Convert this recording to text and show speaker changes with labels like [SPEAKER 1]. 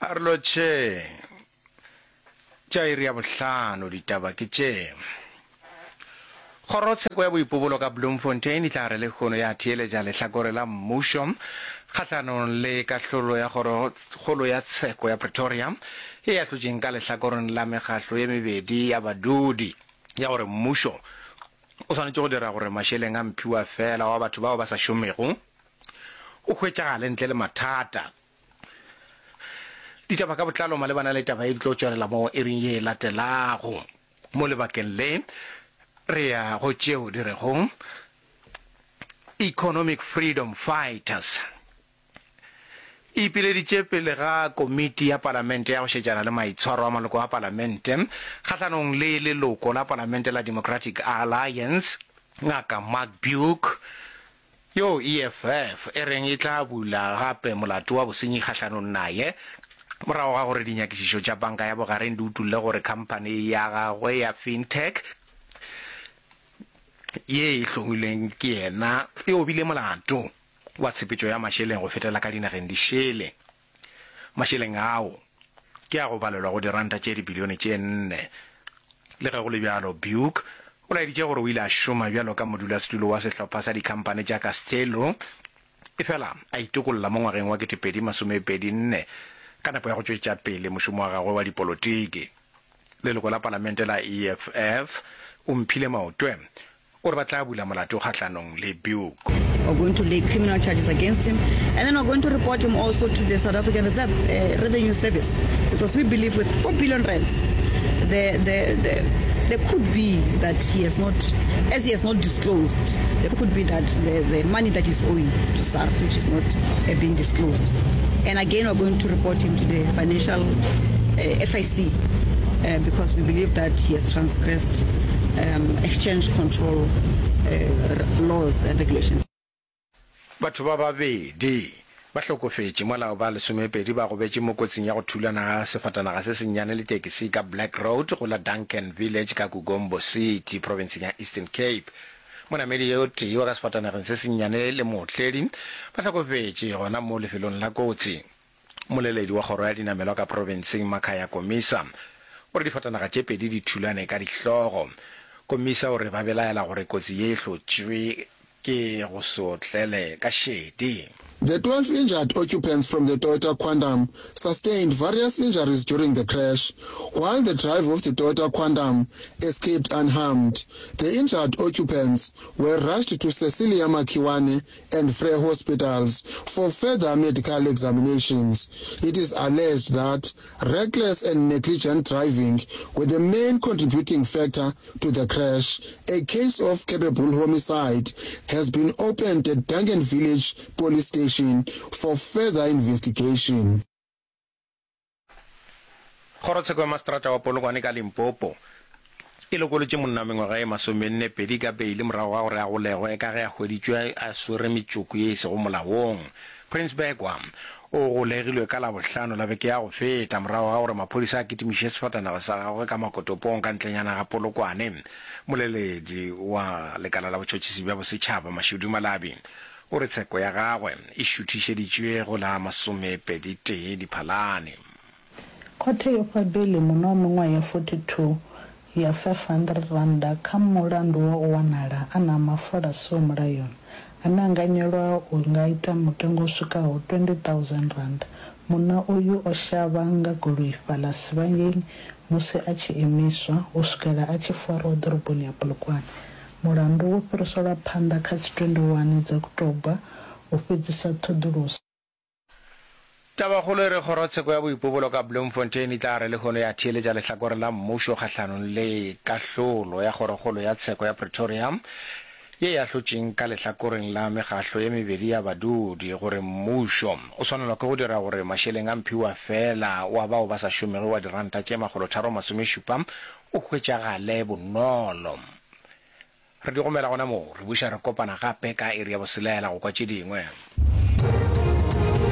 [SPEAKER 1] A re lotšheng. Tša iri ya bohlano ditaba ke tše. Kgorotsheko ya boipobolo ka Bloemfontein e tla re lehono ya theeletša lehlakore la mmušo kgahlanong le kahlolo ya Kgorokgolo ya Tsheko ya Pretoria ye e ahlotšeng ka lehlakoreng la mekgahlo ye mebedi ya badudi ya gore mmušo o swanetše go dira gore mašeleng a mphiwafela wa batho bao ba sa šomego o hwetšagale ntle le mathata. Ditaba ka botlalo malebana le taba ye di tlo tšwelela mo iring ye e latelago. Mo lebakeng le, re ya go tšeo di rego Economic Freedom Fighters e ipileditše pele ga komiti ya palamente ya go šetšana le maitshwaro a maloko a palamente kgahlanong le leloko la palamente la Democratic Alliance, Ngaka Mark Beuk, yo EFF e reng e tla bula gape molato wa bosenyi kgahlanong naye morago ga gore dinyakišišo tša Panka ya Bogareng di utolle gore khamphani ya gagwe ya Fintech ye e hlomilweng ke yena e obile molato wa tshepetšo ya mašeleng go fetela ka dinageng di šele. Mašeleng ao ke a go balelwa go diranta tše dibilione tše nne. Le ge go le bjalo, Beuk o laeditše gore o ile a šoma bjalo ka modulasetulo wa sehlopha sa dikhamphani tša Castello, efela a itokolla mo ngwageng wa 2024 ka nepo ya go tšwetša pele mošomo wa gagwe wa dipolotiki. Leloko la palamente la EFF, Omphile Maotwe, O re ba tla bula molato kgahlanong le Beuk.
[SPEAKER 2] We're going to lay criminal charges against him and then we're going to report him also to the South African Reserve uh, Revenue Service because we believe with 4 billion rands the, the, the, there could be that he has not, as he has not disclosed, there could be that there's a money that is owing to SARS which is not uh, being disclosed. And again, we're going to report him to the financial uh, FIC uh, because we believe that he has transgressed um, exchange control uh, laws and regulations.
[SPEAKER 1] Batho ba babedi ba hlokofetše mola ba lesomepedi ba gobetše mo kotsing ya go thulana ga sefatanaga se sennyane le tekisi ka Black Road go la Duncan Village ka Kugombo City profenseng ya Eastern Cape. Monamedi yo tee wa ka sefatanageng se sennyane le mootledi ba hlokofetše gona mo lefelong la kotsi. Mmoleledi wa kgoro ya dinamelwa ka profenseng Makhaya Komisa o re difatanaga tše pedi di thulane ka dihlogo. Komisa o re ba belaela gore kotsi ye e hlotšwe ke go se otlele ka šedi.
[SPEAKER 3] The 12 injured occupants from the Toyota Quantum sustained various injuries during the crash, while the driver of the Toyota Quantum escaped unharmed. The injured occupants were rushed to Cecilia Makhiwane and Frere hospitals for further medical examinations. It is alleged that reckless and negligent driving were the main contributing factor to the crash. A case of culpable homicide has been opened at Duncan Village Police Station for further investigation.
[SPEAKER 1] Kgorotsheko ya Maseterata wa Polokwane ka Limpopo e lokolotše monna wa mengwaga ye masomenne-pedi ka beile morago ga gore a golegwe ka ge a hweditšwe a swere metšoko ye e sego molaong. Prince Begwa o golegilwe ka Labohlano la beke ya go feta morago ga gore maphodisa a kitimiše sefatanaga sa gagwe ka makotopong ka ntlenyana ga Polokwane. Moleledi wa lekala la botšhotšhisi bja bosetšhaba Mashudu Malabi o re tsheko ya gagwe e šuthišeditšwe go la masomepedi-tee Diphalane.
[SPEAKER 4] Khothe yo fha beiḽi munna wa miṅwaha ya 42 ya R500 kha mulandu wa u wanala a na mafola a siho mulayoni ane a anganyelwa u nga ita mutengo u swikaho R20,000. Munna uyu o shavha nga goloi fhaḽa Sibanyoni musi a tshi imiswa u swikela a tshi farwa ḓoroboni ya Polokwane. Mulandu wo fhiriselwa phanḓa kha dzi 21 dza Kutoba u fhedzisa ṱhoḓuluso.
[SPEAKER 1] Tabakgolo e re kgorotsheko ya boipobolo ka Bloemfontein e tla re lehono ya theeletša lehlakore la mmušo kgahlanong le kahlolo ya kgorokgolo ya tsheko ya Pretoria ye e ahlotšeng ka lehlakoreng la mekgahlo ye mebedi ya badudi gore mmušo o swanelwa ke go dira gore mašeleng a mphiwafela wa bao ba sa šomego wa diranta tše makgolotharomasomešupa o hwetšagale bonolo. Re di gomela gona moo, re buša re kopana gape ka iri ya boselela go kwa tše dingwe.